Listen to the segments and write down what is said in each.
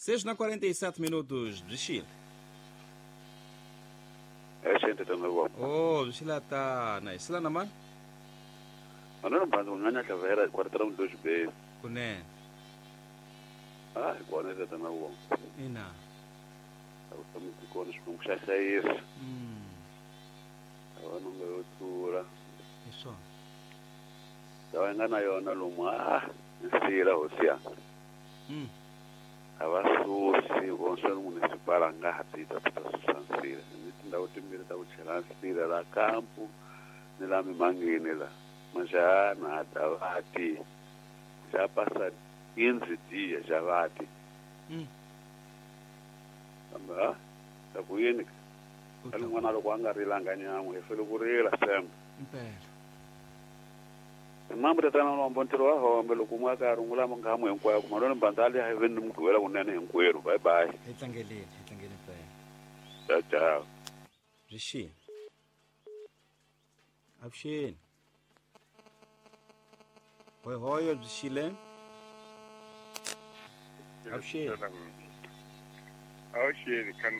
6:47 minutos byi xile. Avuxeni tatana wa. Oh, byi xile tana. Hi sila na mani? Manana Mbanzi ku nga nyahla kwartera mudlozi be. Kunene. Ah, hi kona tatana wa. Ina. A ku tshami byi kona Xikwembu xa hlayisa. A va nonga yo tlula. Hi swona. Lawa yi nga na yona lomu a nsila hosi ya. A va susi vonswe municipal a nga ha ti ta ta susa nsila. Ni tindhawu timbirhi ta ku chela nsila la kampu ni la mimangeni la. Majana davati. Já passa 15 dias já vati. Kambe ha ta ku yini ka n'wana loko a nga rilanga nyan'we hi fele ku rila sembe. Impela. Mambo tatana lombo ntirho wa hombe loko umwe a ka rungula mungamu hinkwayo ku maloni mbandali a hi veni ni mugqivela kunene hinkwerhu. Bye bye. Hi tlangeleni, hi tlangeni mpela. Ciao ciao. Byi xile. Avuxeni. Hoyhoyo byi xile. Avuxeni. Avuxeni kan.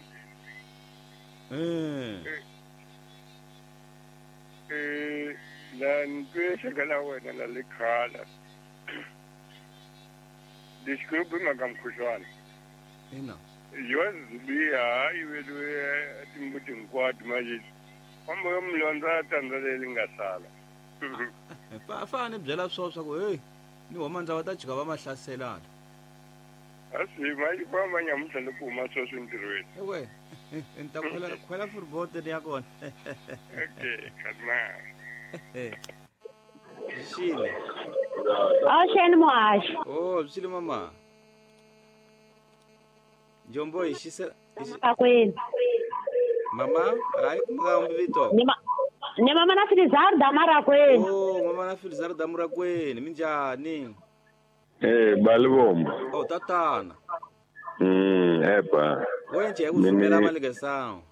La ntwexeka la wena la le khala. Lexi mhaka mukhuhlwana. Ina. Yo zibiha yi veliwe timbuti hinkwato manje. Fambo yo mulondza tandza leri nga sala. Fa ni byela swo swa ku hey ni homa ndza va ta jika va mahlaselana. Asi manje famba nyamuntlha loko huma sweswi ntirhweni. Ewe. Ni ta khwela khwela furbote ya kona. Okay, khatma. Xile. Avuxeni muhaxi. Oh, byi xile mama. Njombo hi xise Akwenu. Mama, hayi kumka vito. Ni mama na Filizar Damarakwenu. Oh, mama na Filizar Damarakwenu, minjhani? Eh, balibomba. Oh, tatana. Epa. Wenje ku rhumela mali ke sawu.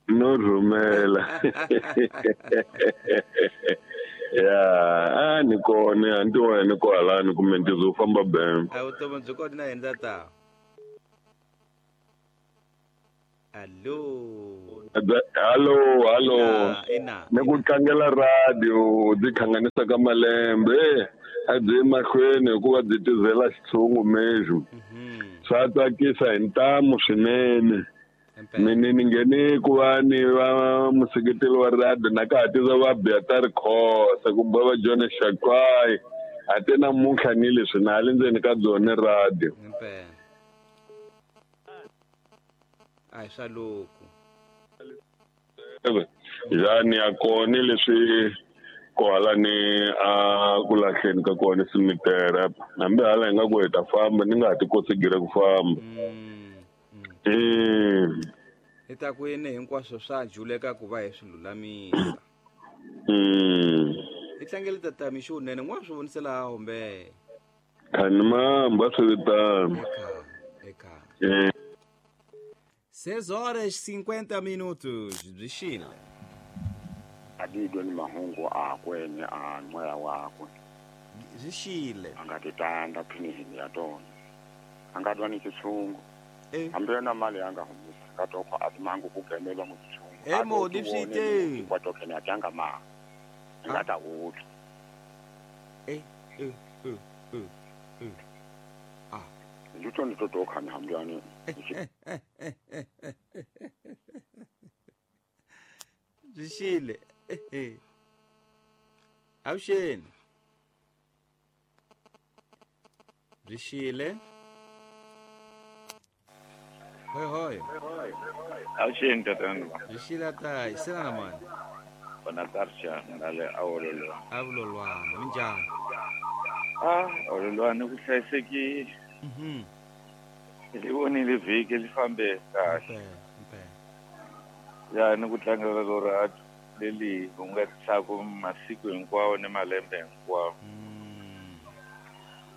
No rhumela. Ya, a ni kona, anti wena kwalani kumbe ntizo famba bem. A vutomi byi kona na yena ta. Allo. Allo, allo. Ina. Ni ku tlangela radio, byi hlanganisa ka malembe. A byi mahlweni hikuva byi tizela xitshungu mexo. Swa tsakisa hi ntamu swinene. Mina ni nghene ku va ni va museketeli wa radio na ka ha tiza va Beata Rikhosa kumbe va John Shakwai. A te namuntlha ni leswi na le ndzeni ka byona radio. Impela. Ai swa loko. Yani ya kona leswi kwala ni a ku lahleni ka kona simitera hambi hala hi nga ku hi ta famba ni nga ha ti kosigire ku famba. Hi ta ku yini hinkwaswo swa juleka ku va hi swi lulamisa. Hi tlangele tata mixo unene n'wa swi vonisela hombe. Khani mamba swi vitana. Eka. 6:50 minutos byi xile. Adidwe ni mahungu akwe ni a moya wakwe. Byi xile. A nga titanda phinihini ya tona. A nga twa ni xitshungu. Hambi yona mali ya nga humisa ka toko a timangu ku gemelwa mu xitshungu. Modi swi te. Kwa tokene a tanga ma. Nga ta wutla. Ah. Luto ni to khana hambyani. Byi xile. Avuxeni. Byi xile. Hoi hoi. Avuxeni tatana. Byi xile ta, hi sela na mani. Bona tarsha ngale awololwa. Awololwana, minjhani? Ah, awololwana ku hlayisekile. Li vonile vhiki li fambe kahle. Ya ni ku tlangela lora leli u nga tsaku masiku hinkwawo ni malembe hinkwawo.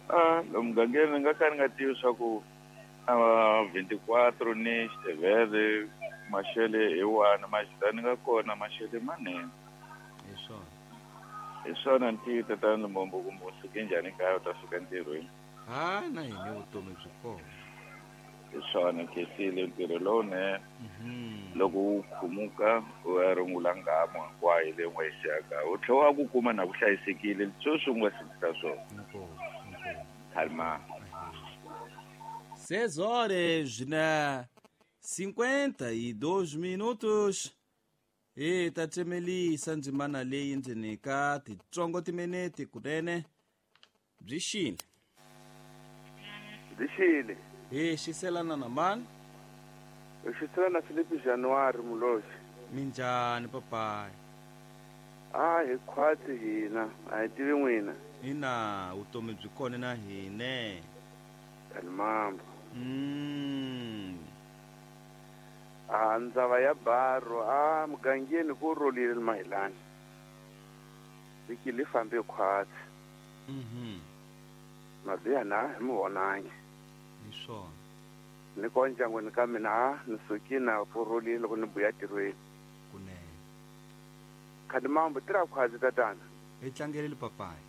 Ah, lomu mugangeni nga ka ni nga tivi swa ku 24 ni xitevele maxele hi wani maxitani nga kona maxele manene. Hi swona. Hi swona ntiyi tatana Lumbombo kumbe u suke njhani kaya u ta fika ntirhweni. Ha na hina vutomi byi kona. Swona khensile ntirho lowunene. Loko wu khumuka u ya rungula nghamu hinkwayo leyi u nga yi siyaka u tlhela wa ku kuma na ku hlayisekile sweswi u nga sindisa swona. Khalima. 6 horas na 52 minutos. E ta tsemelisa ndzimana leyi ndzeni ka titsongo timinete kunene. Byi xile. Byi xile. Hi xiselana na mani? Hi xiselana na Filipi January Muloxi. Minjhani papayi? A hi khwatsi hina, a hi tivi n'wina. Ina, vutomi byi kona na hine. Kalimambo. A ndzava ya baro a mugangeni ku rolile mahilani. Vhiki li fambe khwatsi. Mabiha na hi mi vonangi. Hi swona. Ni ko ndyangwini ka mina ni sukile na pfurulile loko ni buya tirhweni. Kunene. Khalimambo tirha khwatsi tatana. Hi tlangelele papayi.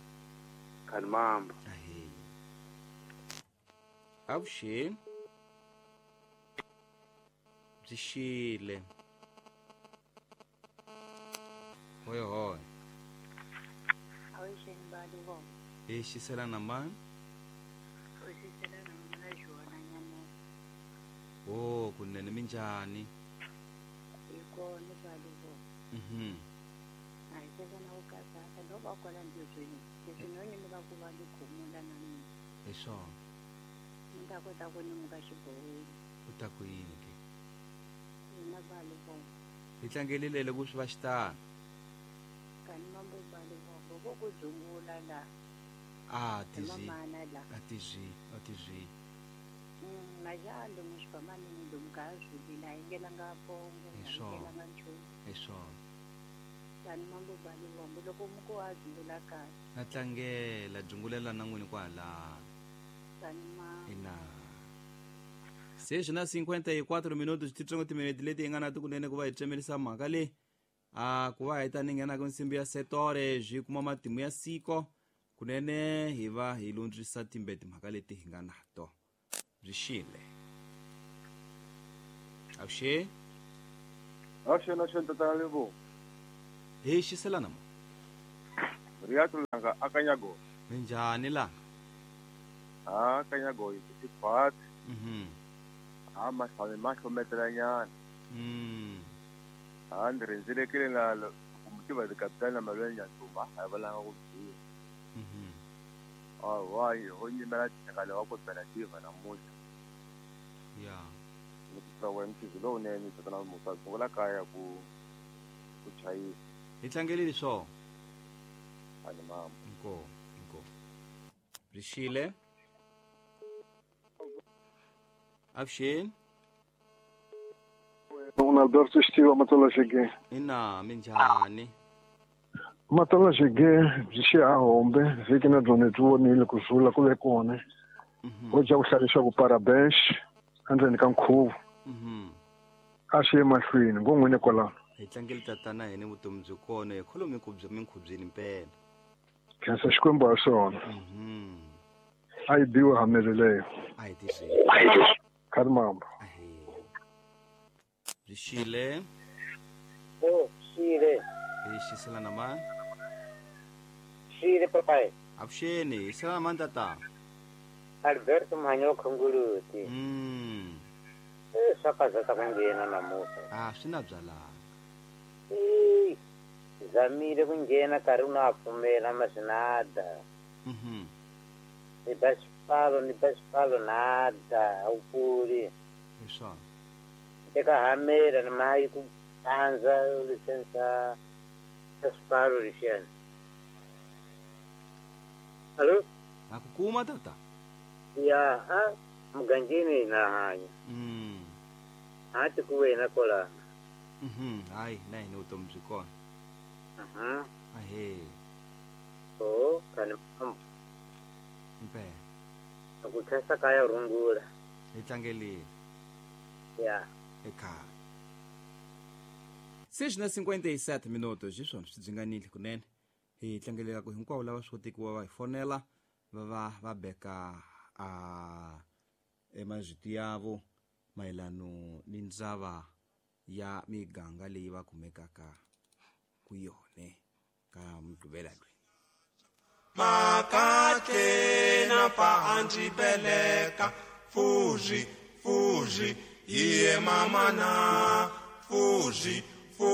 Khalimambo. Ahe. Avuxeni. Byi xile. Hoi hoi. Avuxeni balivo. Hi xiselana mani? U xiselana na Joana Nyamoko. Oh, kunene minjhani? Hi kona balivo. A hi tekana ku katsaka loko va kwala ntirhweni leswi no ni va ku va ni khumula na mina. Hi swona. Ni ta kota ku ni muka xibohweni. U ta ku yini ke? Hina balivo. Hi tlangelile loko swi va xitano. Kani mambo balivo vo ku dzungula la. A tizwi. A tizwi, a tizwi. Majalo muxifamani lomu ka zwivila hi ngelanga pongo Hi swona. ngelanga nchumu. Hi swona. Kani mambo balivo loko muko wa dzungula kahle. Na tlangela dzungulela na n'wini kwala. Kani ma. Ina. 6:54 minutos titsongo timinete leti hi nga na tikunene ku va hi tsemelisa mhaka leyi. A ku va hi ta ni nghena ka nsimbi ya setore byi kuma matimu ya siko kunene hi va hi lundzisa timbe timhaka leti hi nga na to. Byi xile. Avuxeni. Avuxeni, avuxeni tatana Lebo. Hi xiselana mo. Riyato langa akanyago. Minjhani langa? A kanyago hi tikhwatsi. A mahlame mahlometelanyana. A ndzi rhendzelekile na ku mutiva tikapitali na malwele Nyantumba a hi valanga ku byiwa. Awa ho nyimela tshengale wa cooperative namuntlha. Ya. Ni ku wa mchizi lowunene tatana Musa sungula kaya ku chayisa. Hi tlangelile swona. Ani mama. Nko, nko. Byi xile. Avuxeni. Un Alberto Xtiva Matola Xige. Ina, minjhani? Matola Xige byi xi a hombe vhiki na byona byi vonile ku zula ku ve kona. Ho dya ku hlalisa ku parabéns endzeni ka nkhuvo. A xi ye mahlweni ngo n'wini kwalano. Hi tlangele tatana hina vutomi byi kona hi kholomi ku bya minkhubyeni mpela. Khensa Xikwembu ha swona. A yi biwe hameleleyo. A hi tizwi. Khalimambo. Byi xile. Oh, xile. Hi xiselana mani? Xile papayi. Avuxeni, hi xiselana mani tata? Alberto Mhanyo Khongoloti. Swa kazaka ku nghena namuntlha. A swi na byalanga. Zamile ku nghena nkarhi wu na pfumela masinada. Ni ba xipfalo, ni ba xipfalo nada, a wu pfuli. Hi swona. Teka hamela ni mayi ku pandza lisensa xa xipfalo lexiyani. Alo? Na ku kuma tata? Ya, a mugangeni na hanya. A ti ku wena kwalano. Hayi, na hina vutomi byi kona. Ahe. Oh, kani Mpela. Ku khensa kaya rungula. Hi tlangelile. Ya. Ekhaya. 6:57 minutos hi swona swi dzinganile kunene. Hi tlangelela ku hinkwavo lava swi kotiki va hi fonela va va va beka a emazwiti yavo. mayelano ni ndzava ya miganga leyi va kumekaka ku yone ka Mugqivela loyi. Makatlena pa anjibeleka fuji fuji iye mamana fuji.